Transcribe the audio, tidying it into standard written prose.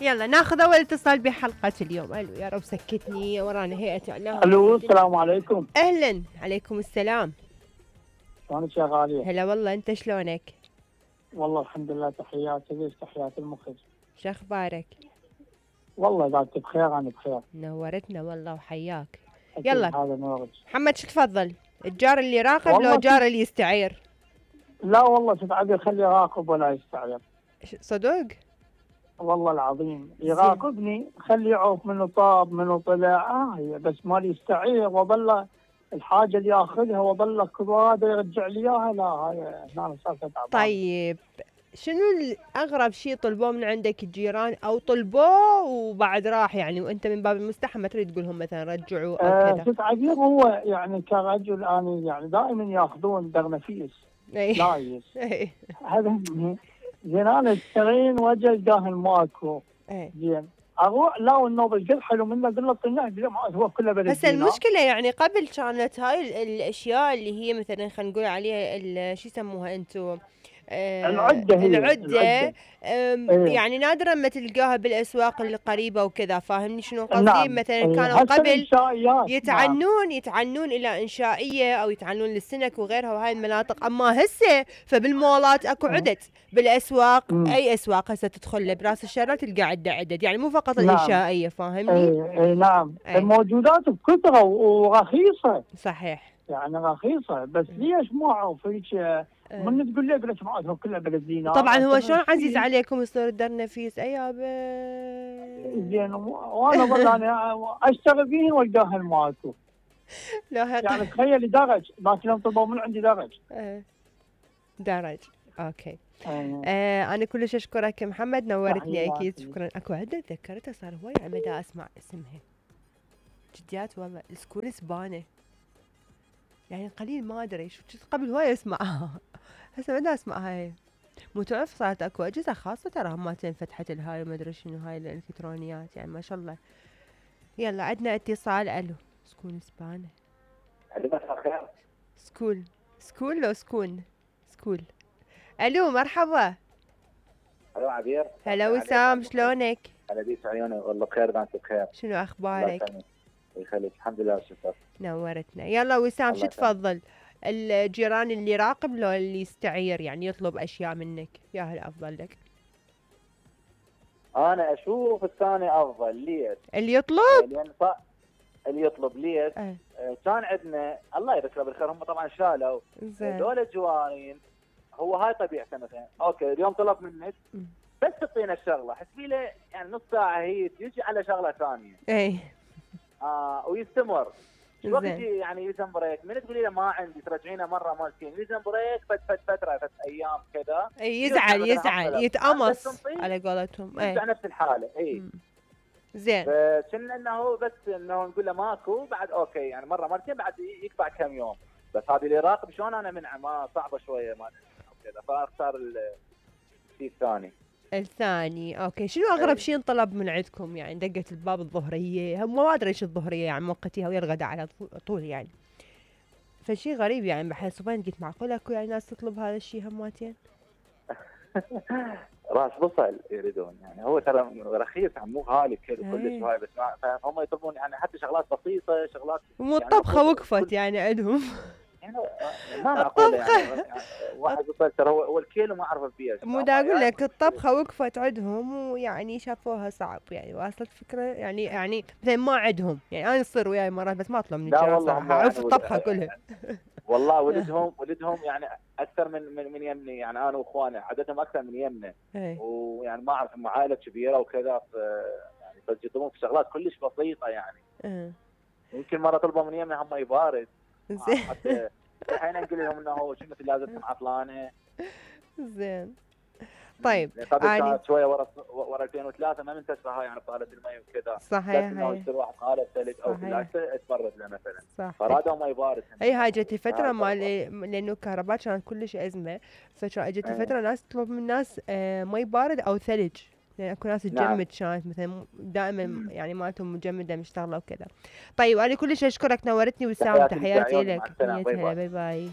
يلا ناخذ اول اتصال بحلقة اليوم. الو يا رب سكتني ورانا هيئة اعلام. الو السلام عليكم. اهلا عليكم السلام. شلونك يا غالية؟ هلا والله، انت شلونك؟ والله الحمد لله، تحياتي ليش تحيات المخرج. شو اخبارك؟ والله اذا انت بخير انا بخير. نورتنا والله وحياك. أكيد يلا هذا نورك. محمد شو تفضل؟ الجار اللي يراقب والله لو جار اللي يستعير؟ لا والله تتعب خلي يراقب ولا يستعير. صدق؟ والله العظيم يراقبني خلي يعرف منو طاب منو طلع بس ما يستعير وظل الحاجه اللي ياخذها وظل كل هذا يرجع لي اياها. لا هاي هنا صار تعبان. طيب شنو اغرب شيء طلبوه من عندك الجيران او طلبوه وبعد راح يعني وانت من باب المستحى ما تريد تقول لهم مثلا رجعوا او كذا؟ تتعبير هو يعني كرجل انا يعني دائما ياخذون درنفيس لايس هذا زين. انا اشترين وجه القاهن ماكو زين اروح لا والنوبل قد حلو منه قل له طلع هو كله بلد. هسه المشكله يعني قبل كانت هاي الاشياء اللي هي مثلا خلينا نقول عليها شو يسموها انتم العدة يعني نادرا ما تلقاها بالاسواق القريبه وكذا، فاهمني شنو قصدي؟ نعم. مثلا كانوا قبل يتعنون نعم. يتعنون الى انشائيه او يتعنون للسنك وغيرها وهاي المناطق، اما هسه فبالمولات اكو عدد بالاسواق. اي اسواق هسه تدخل براس الشارع تلقى عدد يعني مو فقط نعم. الانشائيه، فاهمني؟ اي نعم. الموجودات بكثره ورخيصه. صحيح يعني رخيصه بس ليش ما اعرف هيك من تقول لك ليش ما كلها بلدينا. طبعا هو شلون عزيز عليكم يصير الدرنفيس ايابه زين وانا ظل انا اشتغل فيه والقاها مالته. يعني تخيلي درج لكن يوم طلبوا من عندي درج. درج اوكي. انا كلش اشكرك محمد، نورتني اكيد. شكرا. اكو عده تذكرتها صار هواي عمدا اسمع اسمها جديات والله سكول سبانه يعني قليل ما ادري شو قبل هواي اسمعها هسه بدي اسمعها. هاي مو تعرف صارت اكو اجهزه خاصه ترى هم فتحت الهاي وما ادري شنو هاي الالكترونيات يعني ما شاء الله. يلا عندنا اتصال. الو سكول سبانه. سكول لو سكول. الو مرحبا. الو عبير. هلا وسام شلونك؟ هلا بيك عيوني والله بخير. انت بخير؟ شنو اخبارك؟ يخليك الحمد لله شكرا. نورتنا. يلا وسام شو تفضل؟ الجيران اللي يراقب لو اللي يستعير يعني يطلب اشياء منك؟ يا الافضل لك؟ انا اشوف الثاني افضل. ليش؟ اللي يطلب؟ لان اللي يطلب ليش؟ كان عندنا الله يذكره بالخير هم طبعا شالوا دول الجوارين. هو هاي طبيعته مثلا اوكي اليوم طلب منك بس تعطينا الشغله حسبي له يعني نص ساعه هي تجي على شغله ثانيه. اي ويستمر وقت يعني يلزم بريك من تقولي له ما عندي ترجعينه مره مرتين يلزم بريك فتره ايام كذا. يزعل يتقمص على قولتهم. يرجع نفس الحاله. اي زين. فكنا انه بس انه نقول له ماكو بعد اوكي يعني مره مرتين بعد يقطع كم يوم. بس هذه اللي يراقب شلون انا منعه ما صعبه شويه ما كذا فاختار الشيء الثاني. اوكي. شنو اغرب شيء انطلب من عندكم يعني دقت الباب الظهريه؟ هم ما ادري ايش الظهريه يعني موقتيها ويا الغداء على طول يعني فشي غريب يعني بحس وين قلت معقول اكو يعني ناس تطلب هذا الشيء هماتين؟ راس بصل يريدون يعني هو ترى رخيص مو غالي كلش هاي بس هم يطلبون يعني حتى شغلات بسيطه شغلات مو الطبخه يعني وقفت يعني عندهم يعني ما اقول يعني واحد بصل ترى هو الكيلو ما اعرف بيه. مو دا اقول لك الطبخه وقفت عندهم ويعني شافوها صعب يعني واصلت فكره يعني مثلا ما عندهم يعني انا يصير وياي مرات بس ما اطلب من الجيران صراحه اعرف الطبخه كلها. والله ولدهم يعني اكثر من يمني يعني انا واخواني عددهم اكثر من يمنا ويعني ما اعرف عائله كبيره وكذا يعني بس يطلبون في شغلات كلش بسيطه يعني. يمكن مره طلبوا من يمنا هم يبارد حتى الحين نقول لهم انه شو مثل لازم عطلانه. زين. طيب كانت شويه ورا 2003 ما منتشره هاي يعني بطاله المي وكذا. صحيح. انه يصير واحد قاله ثلج او ثلاجه تبرد له مثلا. صح. فرادوا ما يبارد. اي هاي جت فتره مال لانه الكهرباء كانت كلش ازمه فجت فتره ناس تطلب من ناس مي بارد او ثلج يعني اكو ناس تجمد كانت مثلا دائما يعني مالتهم مجمده مشتغله وكذا. طيب انا كلش اشكرك نورتني وسام. تحياتي لك. باي باي.